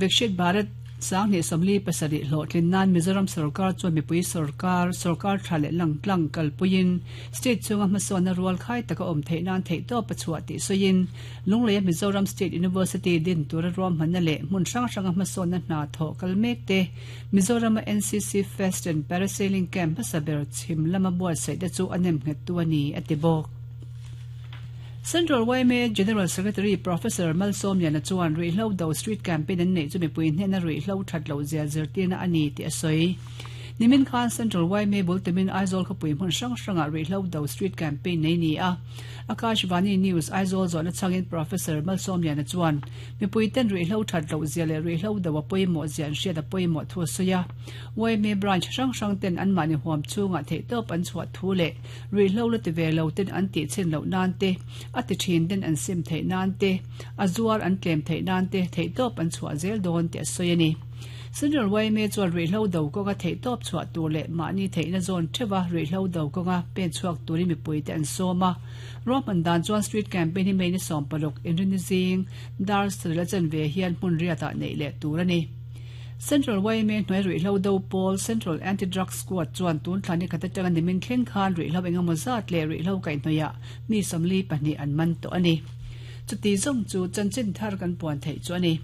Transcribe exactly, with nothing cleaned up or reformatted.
Viksit Bharat Sanghnih sawmli pasarih hlawhtlin nan Mizoram sorkar chuan mipui sorkar, sorkar tha leh langtlang kalpuiin state chhunga hmasawnna rual khai taka awm theih nan theihtawp a chhuah tih sawiin Lungleia Mizoram State University din tura ruahmanna leh hmun hrang hranga hmasawnna hna thawh kal mek te Mizorama N C C Fest and Parasailing Camp hmasa ber chhim lama buatsaih te chu a nem nghettu a ni a ti bawk. Central Y M A General Secretary Professor Malsawmliana chuan ruihhlo do street campaign an neih chu mipui hnena ruihhlo that loh zia zirtirna a ni tih a sawi. Nimin khan Central Y M A bultumin Aizawl khawpui hmun hrang hrangah ruihhlo do street campaign nei ni a. Akashvani News Aizawl zawhna chhangin Professor Malsawmliana chuan mipui ten ruihhlo that loh zia leh ruihhlo do a pawimawh zia an hriat a pawimawh thu a sawi a. Y M A branch hrang hrang ten anmahni huam chhungah theihtawp an chhuah thu leh ruihhlo la ti ve lo ten an tih chhin loh nan te, a ti thin ten an sim theih nan te, a zuar an tlem theih nan te theihtawp an chhuah zel dawn tih a sawi a ni. Central Y M A chuan ruihhlo do kawnga theihtawp chhuah tur leh mahni theihna zawn theuha ruihhlo do kawnga pen chhuak turin mipui te an sawm a. Ruahman dan chuan street campaign hi May ni sawm paruk Inrinni zing dar sarih a chanve hian hmun riatah neih leh tur a ni. Central Y M A hnuai ruihhlo do pawl Central Anti-Drug Squad chuan tun thla ni khat atanga nimin thleng khan ruihhlo engemaw zat leh ruihhlo kaihhnawih mi sawmli pahnih an man tawh a ni. Chuti zawng chu chanchin thar kan puan theih chu a ni.